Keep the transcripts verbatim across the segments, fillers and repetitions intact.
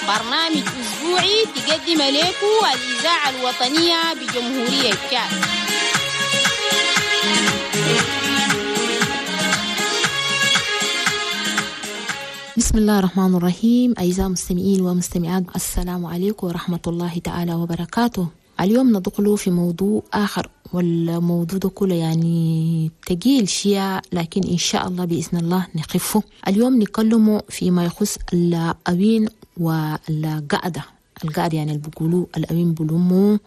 برنامج أسبوعي تقدم لكم الإذاعة الوطنية بجمهورية تشاد. بسم الله الرحمن الرحيم. أعزائي المستمعين ومستمعات، السلام عليكم ورحمة الله تعالى وبركاته. اليوم ندخل في موضوع آخر، والموضوع ده كله يعني تقيل شيء، لكن إن شاء الله بإذن الله نخفه. اليوم نتكلم فيما يخص الأوين والقعدة. القعدة يعني اللي بيقولوا الأوين بلومو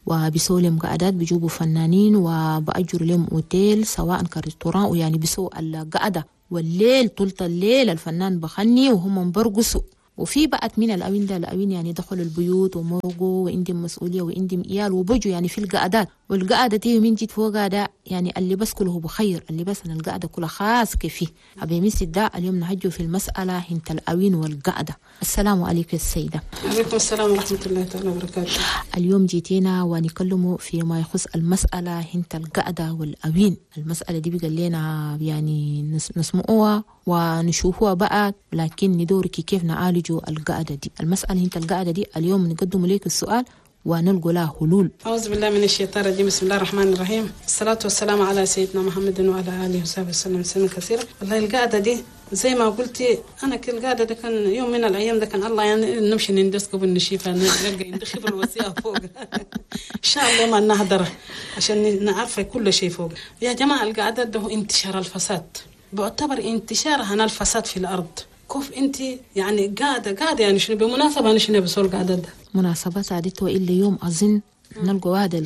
وبيسوا لهم قعدات، بيجيبوا فنانين وبأجروا لهم أوتيل سواء ك restaurant، ويعني بيسوا القعدة والليل طول الليل الفنان بخني وهم برقصوا. وفي بقت من الأوين ده الأوين يعني دخلوا البيوت ومرقوا وعندهم مسؤولية وعندهم إيال وبجوا يعني في القعدات. والقعدة دي من جيت فوق ده يعني اللي بس كله بخير، اللي بس أنا القعدة كلها خاص كفي أبي مسد ده. اليوم نهجوا في المسألة هنت الأوين والقعدة. السلام عليكم السيدة. عليكم السلام ورحمة الله تعالى وبركاته. اليوم جيتينا ونكلموا فيما يخص المسألة هنت القعدة والأوين. المسألة دي بقى لنا يعني نسمعوها ونشوفوها بقى، لكن ندورك كيف نعالجوا القعدة دي. المسألة هنت القعدة دي اليوم نقدم لك السؤال ونلقى لها حلول. أعوذ بالله من الشيطان الرجيم، بسم الله الرحمن الرحيم، الصلاة والسلام على سيدنا محمد وعلى آله وصحبه وسلم تسليما كثيرا. والله القعدة دي زي ما قلتي، أنا كل القعدة ده كان يوم من الأيام ده كان الله يعني نمشي نندس قبل نشيفها نلقى عند خبر وسيعة فوق إن شاء الله ما نهدره عشان نعرف كل شيء فوق. يا جماعة القعدة ده هو انتشار الفساد، بعتبر انتشار هنا الفساد في الأرض. كيف انت يعني قاعدة قاعدة يعني شنو بمناسبة انا شنو بسول قاعدة ده مناسبات عادته الا يوم اظن نلقى واحدة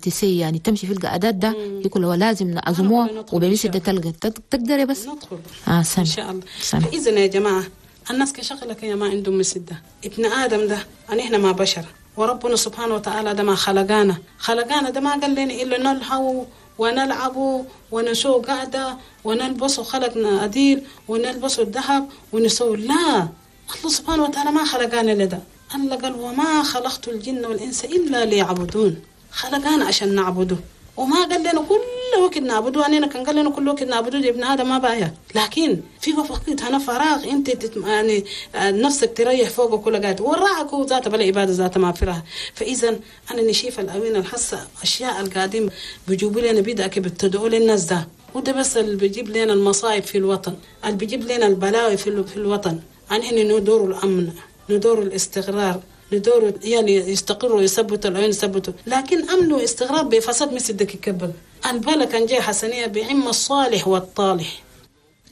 تسي يعني تمشي في القعدات ده يقول هو لازم نعزموها وبمثل ده تلقى تقدري بس ندخل اه سنة. ان شاء الله. فاذا يا جماعة الناس كشغلك يا ما عندهم مسده ابن ادم ده يعني احنا ما بشر، وربنا سبحانه وتعالى ده ما خلقانا خلقانا ده ما قال لنا الا نلهو ونلعب ونسوق قعدة ونلبس خلقنا أديل ونلبس الذهب ونسوي. لا، الله سبحانه وتعالى ما خلقنا لده. الله قال وما خلقت الجن والإنس إلا ليعبدون، خلقنا عشان نعبده، وما قال لنا كل وقت نعبده. أنا كان قال لنا كل وقت نعبده ابن آدم ما بايع، لكن في وقت هنا فراغ أنت تتم يعني نفسك تريح فوقه كل قاعد وراك هو ذاته بلا عبادة ذاته ما فيها. فإذا أنا نشيف الأوين الحصة أشياء القادم بيجيبوا لنا بدأ بتدعوا للناس ده، وده بس اللي بيجيب لنا المصايب في الوطن، اللي بيجيب لنا البلاوي في في الوطن. عن إحنا ندور الأمن، ندور الاستقرار، ندور يعني يستقروا ويثبتوا العين يثبتوا، لكن أمن واستقرار بفساد مثل دك الكبل. البلا كان جاي حسنية بعم الصالح والطالح.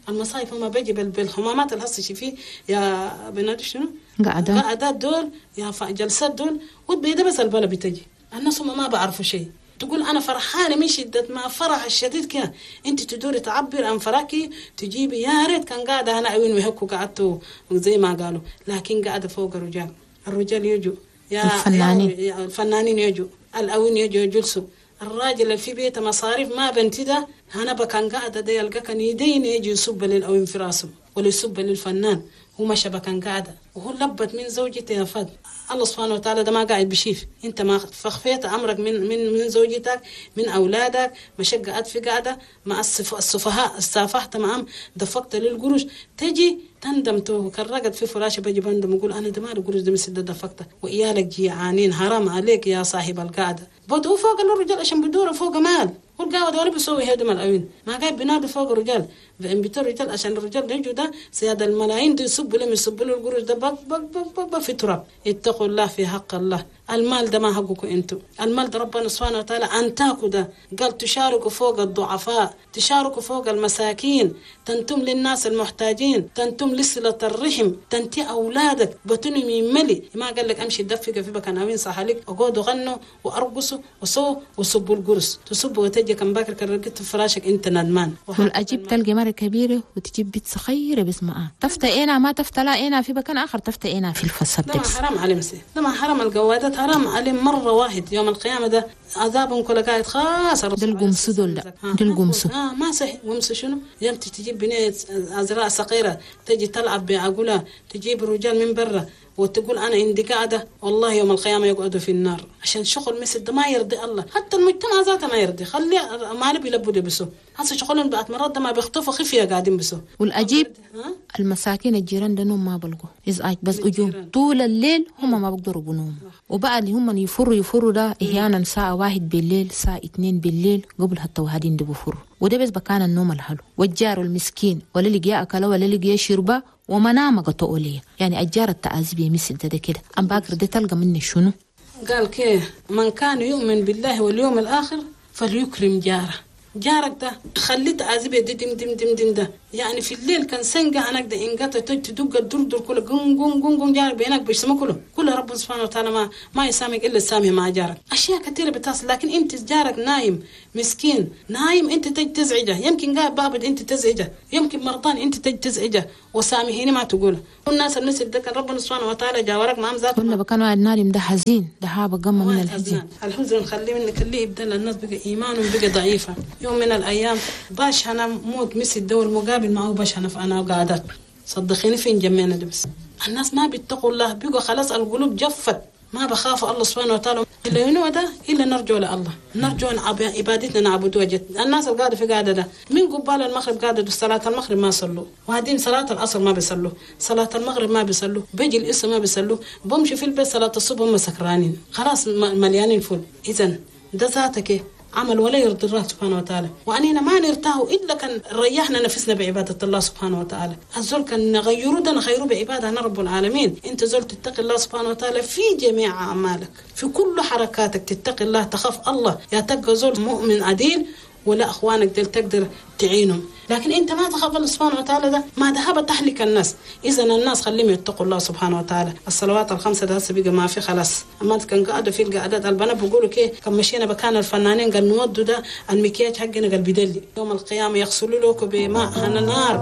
المصايب هما بيجي بالحمامات الهسه شي يا بنات شنو؟ قعدات قعدات دول يا جلسات دول وبيدا بس البلا بتجي. الناس هم ما بعرفوا شيء. تقول أنا فرحانة من شدة ما فرح الشديد كده، أنت تدوري تعبر عن فرحك تجيبي يا ريت كان قاعدة أنا عيون وهكو قعدتوا زي ما قالوا، لكن قاعدة فوق الرجال. الرجال يجوا يا الفنانين، يا الفنانين يجوا، الأوين يجوا يجلسوا، الراجل اللي في بيته مصاريف ما بنتي ده أنا بكان قاعدة ده يلقى كان يدين يجي يصب للأوين في راسه ولا يصب للفنان، هو مشى بكان قاعدة وهو لبت من زوجته يا فد. الله سبحانه وتعالى ده ما قاعد بشيف، انت ما فخفيت امرك من من من زوجتك من اولادك، مشق قعد في قاعدة مع السفهاء استافحت معهم دفقت للقروش، تجي تندم تو كرقت في فراشه بجي بندم وقول انا ده ما القروش ده مسد دفقته وإيالك جيعانين، حرام عليك يا صاحب القعدة. بدو فوق الرجال عشان بدوروا فوق مال، والقعده ولا بيسوي هدم العين ما قاعد بينادوا فوق الرجال بيتر الرجال عشان الرجال يجوا ده سيادة الملايين دي يصبوا لهم يصبوا له القروش ده بق بق بق بق في تراب. اتقوا الله في حق الله، المال ده ما حقكم انتم، المال ده ربنا سبحانه وتعالى انتاكوا ده قال تشاركوا فوق الضعفاء، تشاركوا فوق المساكين، تنتم للناس المحتاجين، تنتم لصلة الرحم، تنتي أولادك بطنهم يملي. ما قال لك أمشي دفق في بكان أوين صح عليك أقعدوا غنوا وأرقصوا وصوا وصبوا القرص تصبوا وتجي كم باكر كرقت في فراشك أنت ندمان. والأجيب تلقي مرة كبيرة وتجيب بيت صغيرة بس معاه تفتى إينا ما تفتى لا إينا في بكان آخر تفتى إينا في الفساد. ده ما حرام على مسي، ده ما حرام القوادات، حرام عليه مرة واحد يوم القيامة ده عذابهم كل قاعد خاص. ده القمص دول ده ده القمص. آه ما صح قمص شنو؟ يمتى تجيب بنية أزراء صغيرة تجي تلعب بعقولها، تجيب رجال من برا وتقول أنا عندي قاعدة، والله يوم القيامة يقعدوا في النار. عشان شغل مثل ده ما يرضي الله، حتى المجتمع ذاته ما يرضي، خلي ما نبي يلبوا لبسه. هسه شغلهم بعد مرات ده ما بيخطفوا خفية قاعدين بسو. والأجيب المساكين الجيران ده نوم ما بلقوا إزعاج بس أجوم طول الليل، هم ما بيقدروا بنوم. وبقى اللي هم يفروا يفروا ده أحيانا ساعة واحد بالليل، ساعة اتنين بالليل، قبل حتى وهادين ده بفروا. وده بس بكان النوم الحلو. والجار المسكين ولا لقي أكله ولا لقي شربه ومنامة قطعوا. يعني الجار التعذيب مثل ده, ده كده أم باكر ده تلقى مني شنو؟ قال كيه من كان يؤمن بالله واليوم الآخر فليكرم جاره. جارك ده خليت تعذيب دي دم دم دم دم ده يعني في الليل كان سنقة هناك ده إنقطع تدق الدردر كله قم قم قم قم جارك بينك بيسمع كله كله رب سبحانه وتعالى ما ما يسامك إلا السامي مع جارك. أشياء كثيرة بتصل، لكن أنت جارك نايم مسكين نايم أنت تج تزعجه، يمكن قاعد بابد أنت تزعجه، يمكن مرضان أنت تج تزعجه وسامحيني ما تقوله. والناس المثل ده كان ربنا سبحانه وتعالى جاورك ما ذاته ولا بكان واحد نايم ده حزين ده هابه قمة من الحزن. الحزن خليه منك اللي يبدل الناس بقى إيمانهم بقى ضعيفة. يوم من الأيام باش أنا موت مثل الدول مقابل معه باش أنا أنا قاعدات صدقيني فين جمعنا ده بس الناس ما بيتقوا الله، بيقوا خلاص القلوب جفت ما بخافوا الله سبحانه وتعالى. إلا ينو ده إلا نرجو لله، نرجو عبادتنا نعبد وجه. الناس القاعدة في قاعدة ده من قبال المغرب قاعدة صلاة المغرب ما صلوا، وهادين صلاة العصر ما بيصلوا، صلاة المغرب ما بيصلوا، بيجي الإسم ما بيصلوا، بمشي في البيت صلاة الصبح هم سكرانين خلاص مليانين فل. إذن ده ذاتك عمل ولا يرضي الله سبحانه وتعالى، وأننا ما نرتاح إلا كان ريحنا نفسنا بعبادة الله سبحانه وتعالى. الزول كان نغيره ده نغيره بعبادة رب العالمين. أنت زول تتقي الله سبحانه وتعالى في جميع أعمالك، في كل حركاتك تتقي الله، تخاف الله، يا تبقى زول مؤمن عديل ولا أخوانك دل تقدر تعينهم. لكن أنت ما تخاف الله سبحانه وتعالى ده ما ذهب تهلك الناس. إذا الناس خليهم يتقوا الله سبحانه وتعالى. الصلوات الخمسة ده هسه بقى ما في خلاص. أما كان قاعدوا في القعدات البنات بيقولوا كي كم مشينا بكان الفنانين قال نودوا ده المكياج حقنا قال بدلي يوم القيامة يغسلوا لكم بماء نار.